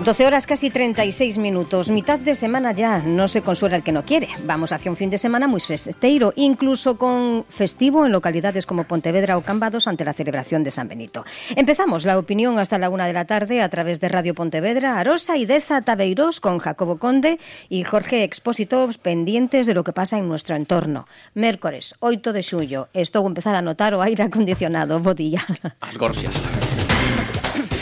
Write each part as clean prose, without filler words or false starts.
12 horas casi 36 minutos, mitad de semana ya, no se consuela el que no quiere. Vamos hacia un fin de semana muy festeiro, incluso con festivo en localidades como Pontevedra o Cambados ante la celebración de San Benito. Empezamos la opinión hasta la 1 de la tarde a través de Radio Pontevedra, Arosa y Deza Tabeiros con Jacobo Conde y Jorge Expósito pendientes de lo que pasa en nuestro entorno. Mércores, 8 de xullo, estou a empezar a notar o aire acondicionado, bo día. As gorxias.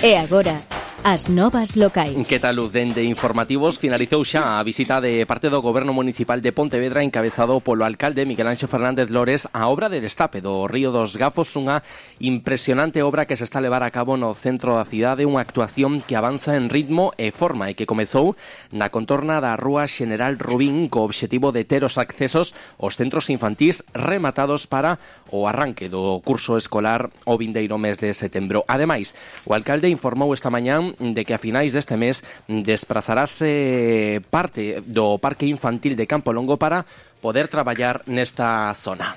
E agora, as novas locais. Que tal, Luz? Dende Informativos finalizou xa a visita de parte do Goberno Municipal de Pontevedra encabezado polo alcalde Miguel Anxo Fernández Lores a obra de destape do Río dos Gafos, unha impresionante obra que se está a levar a cabo no centro da cidade, unha actuación que avanza en ritmo e forma e que comezou na contorna da Rúa Xeneral Rubín co obxectivo de ter os accesos aos centros infantís rematados para o arranque do curso escolar o vindeiro mes de setembro. Ademais, o alcalde informou esta mañán de que a finais deste mes desplazarase parte do Parque Infantil de Campo Longo para poder traballar nesta zona.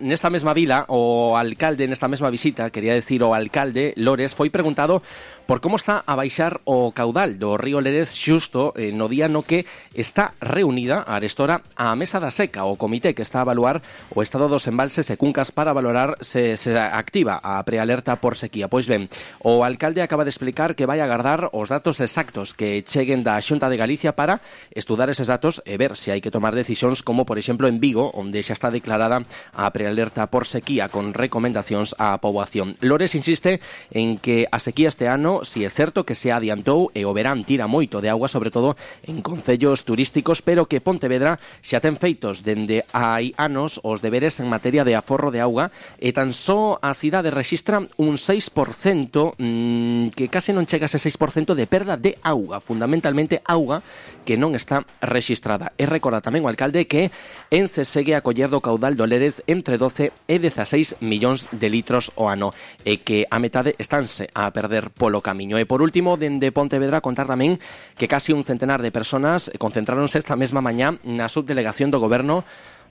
Nesta mesma vila, o alcalde, nesta mesma visita, quería decir o alcalde Lores, foi preguntado por como está a baixar o caudal do río Lérez xusto no día no que está reunida a arestora a Mesa da Seca, o comité que está a evaluar o estado dos embalses e cuncas para valorar se activa a prealerta por sequía. Pois ben, o alcalde acaba de explicar que vai agardar os datos exactos que cheguen da Xunta de Galicia para estudar eses datos e ver se hai que tomar decisións como, por exemplo, en Vigo, onde xa está declarada a prealerta por sequía con recomendacións á poboación. Lores insiste en que a sequía este ano si é certo que se adiantou e o verán tira moito de auga, sobre todo en concellos turísticos, pero que Pontevedra xa ten feitos dende hai anos os deberes en materia de aforro de auga e tan só a cidade rexistra un 6%, que case non chega a ese 6% de perda de auga, fundamentalmente auga que non está rexistrada. E recorda tamén o alcalde que Ence segue a coller do caudal do Lérez entre 12 e 16 millóns de litros ao ano e que a metade estánse a perder polo camiño. E por último, dende Pontevedra contar tamén que casi un centenar de personas concentráronse esta mesma mañá na subdelegación do Goberno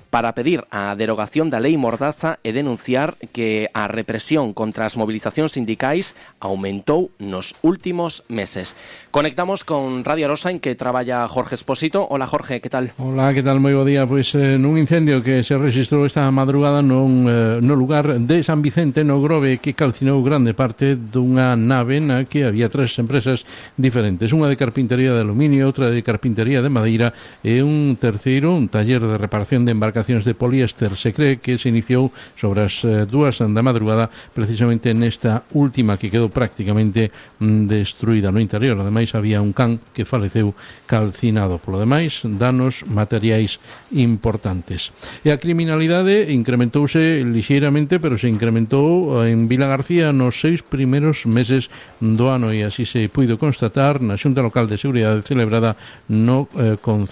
para pedir a derogación da lei Mordaza e denunciar que a represión contra as movilizacións sindicais aumentou nos últimos meses. Conectamos con Radio Arosa, en que traballa Jorge Expósito. Hola, Jorge, que tal? Hola, que tal? Moi bo día. Pois nun incendio que se registrou esta madrugada no lugar de San Vicente, no Grove, que calcinou grande parte dunha nave na que había tres empresas diferentes, unha de carpintería de aluminio, outra de carpintería de madeira e un terceiro, un taller de reparación de embarcacións de poliéster. Se cree que se iniciou sobre as 2 da madrugada precisamente nesta última que quedou prácticamente destruída no interior. Ademais había un can que faleceu calcinado. Polo demais, danos materiais importantes. E a criminalidade incrementouse lixeiramente, pero se incrementou en Vila García nos 6 primeiros meses do ano e así se puido constatar na Xunta Local de Seguridade celebrada no Concello